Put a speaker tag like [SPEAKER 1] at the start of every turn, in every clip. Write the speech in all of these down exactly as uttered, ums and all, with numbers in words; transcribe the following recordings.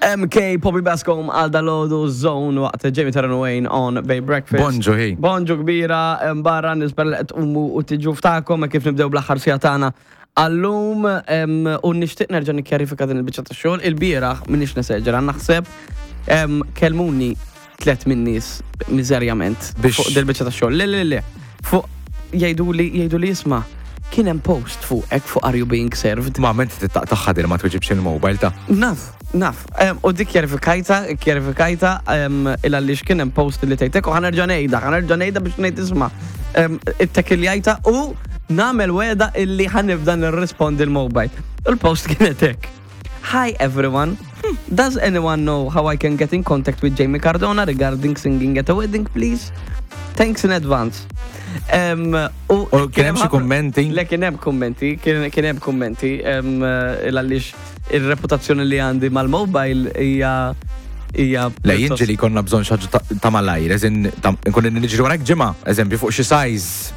[SPEAKER 1] M K Poppy Bascom għal dalgħodu Zone waqt Jamie Taran Wayne on Bay Breakfast.
[SPEAKER 2] Bonġu, hi.
[SPEAKER 1] Bonġu kbira, em, barra nispera li qed tqumu u tiġu ftakom kif nibdew bl-aħħar siegħa tagħna. Għallum em, u nixtieq nerġa' nikkjarifika din il-biċċa ta' xogħol. Il-bieraħ minix neseġera, naħseb em, kelmuni tlet minn nies miżerjament
[SPEAKER 2] Biex-
[SPEAKER 1] fuq dil-biċċa ta' xogħol. Le, le, le. Fuq jgħidu li jgħidu li isma' kien hemm post fuq fuq Are You Being Served.
[SPEAKER 2] Ma ment tittaqtaħħa dir ma tweġibx il-mobile ta'
[SPEAKER 1] Naf, naf. Em, U dik kjarifikajta, kjarifikajta il għaliex kien hemm post li tgħidlek u ħa nerġa' ngħidha, ħa nerġa' ngħidha biex ngħid isma'. Em, Ittekkiljajta u nagħmel wegħda illi ħa nibda nirrispondi l-mobile. Il-post kienet hekk. "Hi everyone. Does anyone know how I can get in contact with Jamie Cardona regarding singing at a wedding, please? Thanks in advance." Em,
[SPEAKER 2] U kien hemm xi
[SPEAKER 1] ħafna-
[SPEAKER 2] kummenti?
[SPEAKER 1] Le, kien hemm kummenti, kien kien hemm kummenti, em, eh, għaliex ir-reputazzjoni li għandi mal-mobile hija hija
[SPEAKER 2] Le, jien ġieli konna bżonn xi ħaġa ta- ta' malajr, eżin, nkun niġri warajk ġimgħa, eżempju, fuq xi size.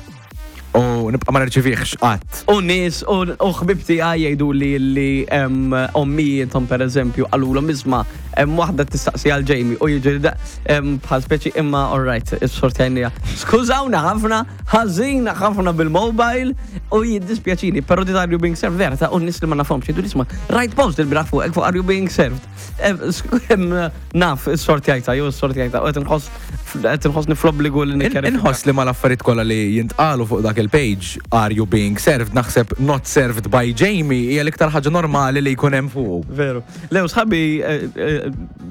[SPEAKER 2] U nibqa' ma nirċivihx qatt.
[SPEAKER 1] U nies, u u ħbib tiegħi jgħidu li li em, ommijiethom per eżempju qalulhom isma' hemm waħda tistaqsi għal Jamie u jiġri da em, bħal speċi imma alright, is-sortjajnija. Skużawna ħafna, ħażina ħafna bil-mobile u jiddispjaċini, però di Are You Being Served vera ta' u nies li ma nafhomx jgħidu isma' rajt post il-bieraħ fuq fuq Are You Being Served. Em, sk- em, Naf, is-sortjajta, jew is-sortjajta, u qed inħoss qed inħossni fl-obbligu li nikkjarifika.
[SPEAKER 2] Inħoss li mal-affarijiet kollha li jintqalu fuq dak il-page Are You Being Served, naħseb "not served by Jamie" hija l-iktar ħaġa normali li jkun hemm fuq.
[SPEAKER 1] Veru. Lew, sħabi eh, eh,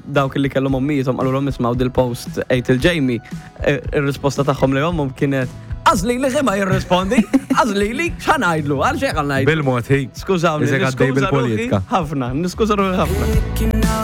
[SPEAKER 1] dawk li kellhom ommijiethom qalulhom ismgħu dil-post għid il-Jamie, eh, ir-risposta tagħhom li ommhom kienet għażli li ma jirrispondi, għażli li x'ħa ngħidlu, għal xejn ngħidlu.
[SPEAKER 2] Bil-mod hi.
[SPEAKER 1] Skużawni,
[SPEAKER 2] Iżek għaddej
[SPEAKER 1] niskuża ruħi
[SPEAKER 2] bil-politika.
[SPEAKER 1] ħafna, niskuża ruħi ħafna.